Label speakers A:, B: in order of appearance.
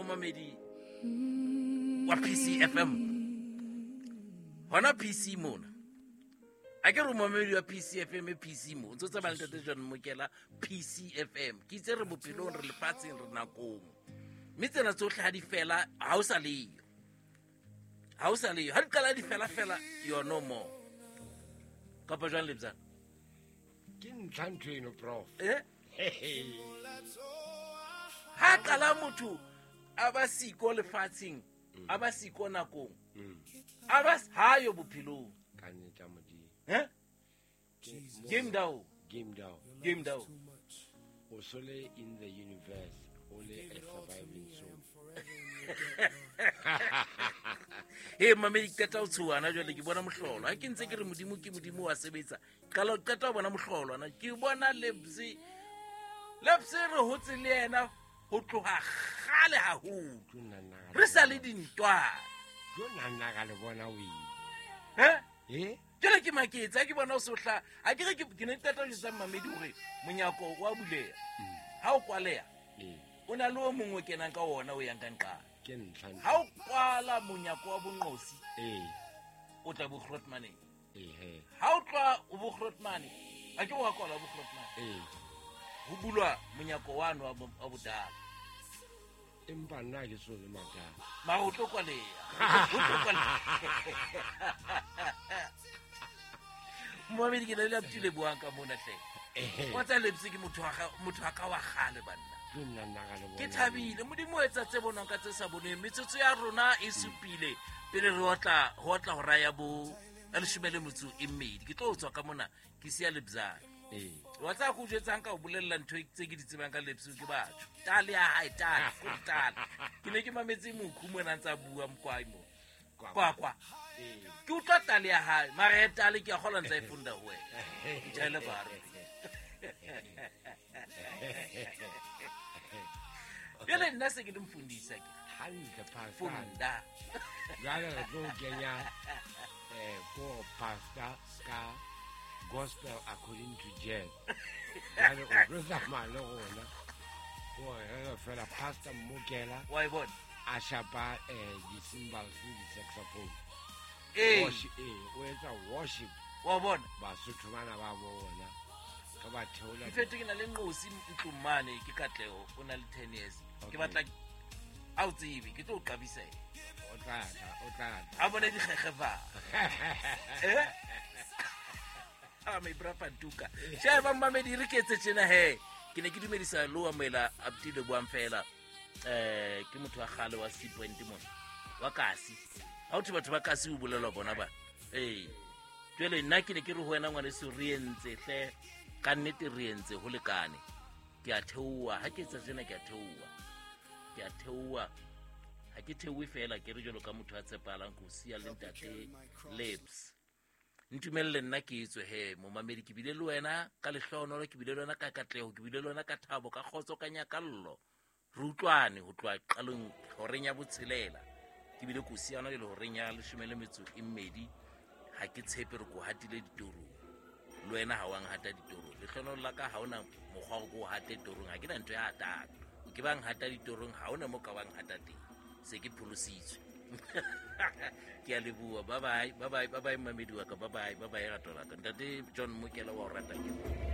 A: Momamedi wa PCFM, hona PC mona, a ke re momamedi wa PCFM, e PC mo o ntse o tsamaya le Ntate John Mokela. PCFM ke itse re bophelong, re lefatsheng, re nakong, mme tsena tsotlhe ga di fela, ga o sa leyo, ga o sa leyo. Ga di qala di fela fela, you're no more. Kapa jwang, Lebzana?
B: Ke ntlha ntho eno, prof.
A: Eh? Ha qala motho a ba siko lefatsheng, a ba siko nakong, a ba hayo bophelong.
B: Ka nnete ya Modimo.
A: Eh? Game down.
B: Game down.
A: Game down.
B: O so le in the universe, o le a surviving soul.
A: He, mamedi, qeta ho tshohana jwale. Ke bona mohlolo ha ke ntse ke re Modimo ke Modimo wa sebetsa. Qala qeta ho bona mohlolo ana, ke bona Lebse. Lebse re hotse le yena ho tloha kgale haholo.
B: Tlo nna nna ka
A: re sa le dintwana.
B: Tlo nna nna ka le bona o ile.
A: Eh?
B: Eh.
A: Jwale ke maketse ha ke bona o sohla. A ke re ke ne ke qeta ho jwetsa mamedi hore monyako wa buleha, ha o kwaleha, o na le o mongwe o kenang ka ona, o yang ka nqala.
B: Ke ntlha ntho.
A: Ha o kwala monyako wa bonqosi, o tla bogrootmaneng. Ha o tloha o bogrootmane, a ke wa kwala bogrootmane, ho bulwa monyako wano wa bodala.
B: Empa nna ke so le matala.
A: Mara o tlo kwaleha. O tlo kwaleha. Moamedi, ke na le aptile buang ka mona hle. Wa tsa Lebse ke motho wa motho wa ka wa kgale, banna.
B: Tlo nna nna ka le bona.
A: Ke thabile Modimo o etsa tse bonwang ka tse sa bonweng. Metsotso ya rona e supile pele re otla ho otla hora ya bo ya 12. Ke tlo tswa ka mona, ke siya Lebzana. Wa tsaya ko jwetsang ka o bolella ntho tse ke di tsebang ka Lebse ke batho tale ya hae, tale ko tale. Ke ne ke mametse mokhu mona a ntse a bua mokwai mo kwakwa. Ke utlwa tale ya hae, mara ya tale ke a kgola ntse a e funda ho wena. Ke tjhaele bare jale, nna se ke le mfundisa ke
B: Hantle, pastor.
A: Funda.
B: Jwale re tlo kenya ko pastor ka gospel according to jazz. Jwale o tlo tsamaya le rona gore re re fela Pastor Mmokela
A: wa e bona
B: a shapa di-cymbals le di-saxophone. O etsa worship.
A: Wa bona.
B: Basotho bana ba bona ka ba theola.
A: In fact, ke na le nqosi ntlong mane, ke Katleho, o na le 10 years. Ke batla a o tsebe, ke tlo o qabisa ena.
B: O tla tla, o tla tla.
A: A bone dikgekgefa. Eh, a my bra Pantuka, sheba mmamedi, re ke etse tjena he. Ke ne ke dumedisa le wa moela Abdile buang fela. Ke motho wa kgale wa Sea Point mona, wa kasi. Ha o thwe batho ba kasi, o bolelwa bona ba. Ee, jwale nna ke ne ke re ho wena, ngwaneso, re entse hle, ka nnete re entse ho lekane. Ke a theoha ha ke etsa tjena, ke a theoha, ke a theoha. Ha ke theohe fela, ke re jwalo ka motho a tshepahalang, ko siya le Ntate Lebs. Ntumelle nna ke etswe he. Momamedi, ke bile le wena ka lehlohonolo, ke bile le wena ka katleho, ke bile le wena ka thabo, ka kgotso, ka nyakallo. Re utlwane ho tloha qalong horeng ya 6, ke bile ko siyana jale horeng ya 12. Ha ke tshepe re ko hatile ditorong, le wena ha wang hata ditorong. Lehlohonolo la ka, ha ona mokgwa wa ko hate torong, ha ke na ntho ya hatang. O ke bang hata ditorong, ha ona mo ka bang hata teng. Se ke pholositswe. Ke a leboha. Bye bye, bye bye, bye bye, mamedi wa ka. Bye bye, bye bye, rato la ka. Ntate John Mokela wa o rata ke.